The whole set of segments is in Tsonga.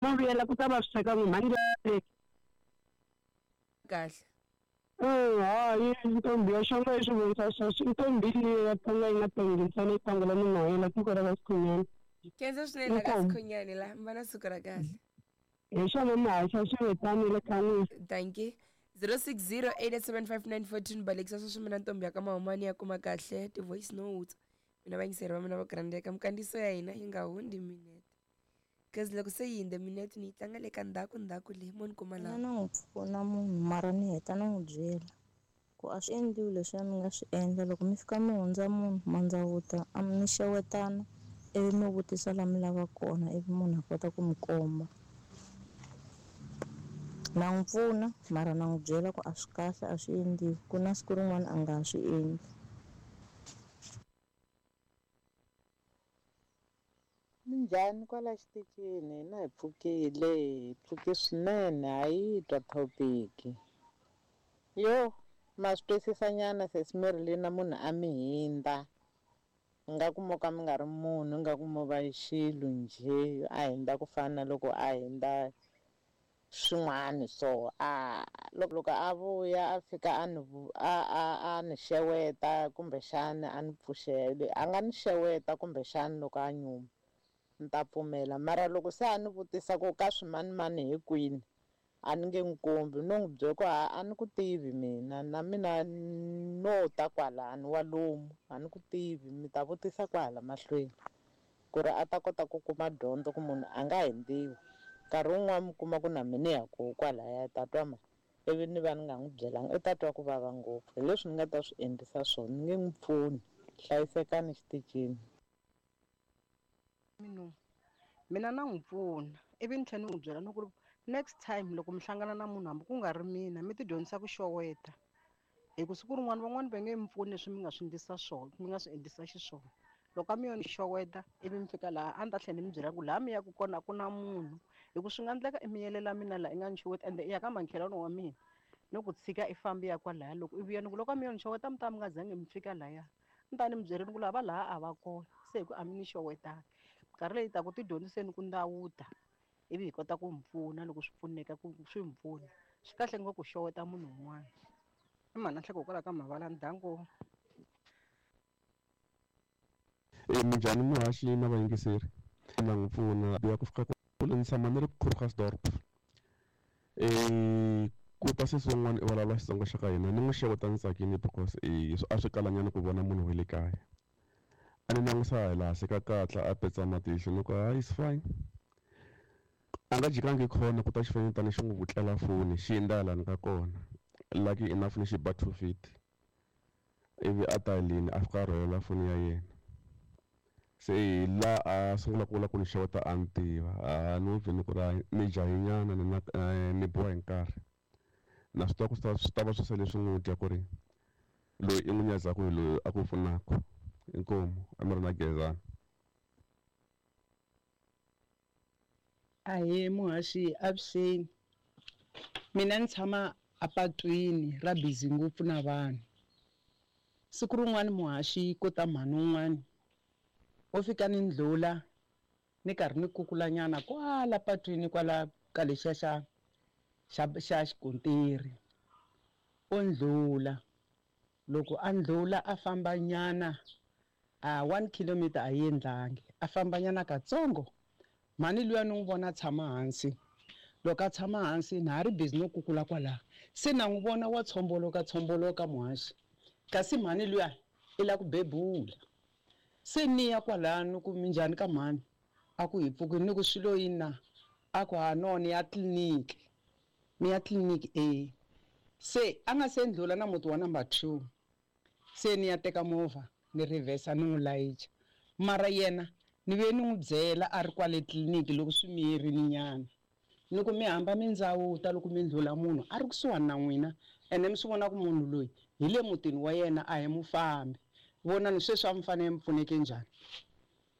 Ma vuyela ku ta vaviseka n'wi mhani le. Kahle. Hayi ntombi ya xonga yi swi vonisa sweswo i ntombi liya ya tonga yi nga tongi ntsena yi tongela minwayela tiko ra ka Sikhunyani. Khensa swinene la ka Sikhunyani la mi va na siku ra kahle. Hi swona muhaxa swi ve tano le ka n'wina. Dankie. 0608875914 balekisa sweswi mina ntombi ya ka Mahumani ya kuma kahle ti-voice notes mina vayingiseri va mina va grandeka minkandziyiso ya hina yi nga hundzi minete. Cause loko se yi hindze minete ni yi tlanga le ka ndzhaku ndzhaku le mo ni kuma Mina laha. na n'wi pfuna munhu mara ni heta ni n'wi byela ku a swi endliwi leswiya mi nga swi endla loko mi fika mi hundza munhu ma ndzawuta a mi xewetana ivi mi vutisa la mi lavaka kona ivi munhu a kota ku mi komba. Na n'wi pfuna mara na n'wi byela ku a swi kahle a swi endliwi ku na siku rin'wana a nga ha swi endli. Minjhani kwala xitichini hina hi pfukile hi pfuke swinene ha yi twa thopiki yo ma swi twisisa nyana sesi Marilyn munhu a mi hindza ingaku mo ka mi nga ri munhu ingaku mo va xilo njhe a hindza ku fana na loko a hindza swin'wana so a loko loko a vuya a fika a ni a a a ni xeweta kumbexana a ni pfuxela a nga ni xeweta kumbexana loko a nyuma ni ta pfumela mara loko se a ni vutisa ku ka swimanimani hi kwini a ni nge n'wi kombi no n'wi byela ku a a ni ku tivi mina na mina no ta kwalani wa lomu a ni ku tivi mi ta vutisa kwahala mahlweni ku ri a ta kota ku kuma dyondzo ku munhu a nga hundziwi nkarhi wun'wani mi kuma ku na mina ni ya koho kwalaya ta twa ma ivi ni va ni nga n'wi byelanga u ta twa ku vava ngopfu hi leswi ni nga ta swi endlisa swona ni nge n'wi pfuni hlayisekani xitichini. Mina na n'wi pfuna ivi ni tlhela ni n'wi byela ni ku ri next time loko mi hlangana na munhu hambi ku nga ri mina mi ti dyondzisa ku xeweta hi ku siku rin'wana van'wani va nge mi pfuni leswi mi nga swi endlisa swona mi nga swi endlisa xiswona loko a mi yo ni xeweta ivi mi fika laha a ni ta tlhela ni mi byela ku laha mi yaka kona a ku na munhu hi ku swi nga endleka i miyelela mina laha i nga ni xeweti ende i ya ka makhelwani wa mina no ku tshika i fambi ya kwalaya loko i vuya ni ku loko a mi yo ni xeweta mi ta mi nga zangi mi fika laya ni ta ni mi byerile ku lava laha a va kona se hi ku a mi ni xewetanga minkarhi leyi taka ti dyondziseni ku ndawuta ivi hi kota ku mi pfuna loko swi pfuneka ku swi mi pfuna swi kahle ngopfu ku xeweta munhu un'wana i mhana nhleko hikwalaho ka mavala ndyangu. E minjhani muhaxi na vayingiseri na n'wi pfuna ya ku fika kule ni tshama ni ri Krugersdorp ku ta sesi wun'wana i vulavula Xitsonga xa ka hina ni n'wi xeweta ni tsakile because a swi kalanyana ku vona munhu wa le kaya a ni langusa hi laha se ka katla a petsa matihlo ni ku hayi it's fine a nga jikangi khona ku ta xifanyetana xi n'wi vutlela foni xi hindza lani ka kona lucky enough ni xi ba 250 ivi a ta leni a fika a rhwalela foni ya yena se hi la a sungula ku vula ku ni xeweta a ni tiva a ni n'wi ni ku ri ni jahinyana ni na ni biwa hi nkarhi na swi tiva ku swi ta va swi sele swi n'wi dya ku ri loyi i n'wi nyadzaka hi loyi a ku pfunaka inkomu a mi ri na Gezani. Ahee muhaxi avuxeni mina ni tshama apatwini ra busy ngopfu na vanhu siku rin'wani muhaxi ko ta mhani un'wani wo fika ni ndlhula ni karhi ni kukula nyana kwala patwini kwala ka lexiya xa xa xa xikontiri o ndlhula loko a ndlhula a famba nyana a 1 kilometer a yi endlangi a famba nyana katsongo mhani luya ni n'wi vona a tshama hansi loko a tshama hansi na ha ri busy no kukula kwalaho se na n'wi vona wa tshomboloka tshomboloka muhaxi kasi mhani luya i lava ku bebula se ni ya kwalano ku minjhani ka mhani a ku hi pfukini ni ku swilo yini na a ku ha no ni ya tliliniki ni ya tliliniki e se a nga se ndlhula na muti wa number 2 se ni ya teka movha ni reverse ni n'wi layicha mara yena ni ve ni n'wi byela a ri kwale tliliniki loko swi miyerini nyana ni ku mi hamba mi ndzawuta loko mi ndlhula munhu a ri kusuhani na n'wina ene mi swi vona ku munhu loyi hi le mutini wa yena a hi mufambi vonani sweswi a mi fanele mi pfuneke njhani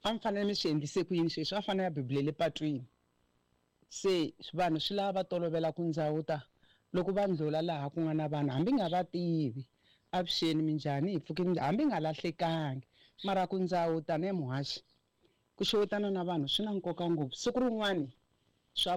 a mi fanele mi swi endlise ku yini sweswi a fanele a bebulele patwini se vanhu swi lava va tolovela ku ndzawuta loko va ndlhula laha ku nga na vanhu hambi nga va tivi avuxeni minjhani hi pfukini hambi nga lahlekangi mara ku ndzawuta ne muhaxi ku xewetana na vanhu swi na nkoka ngopfu siku rin'wani.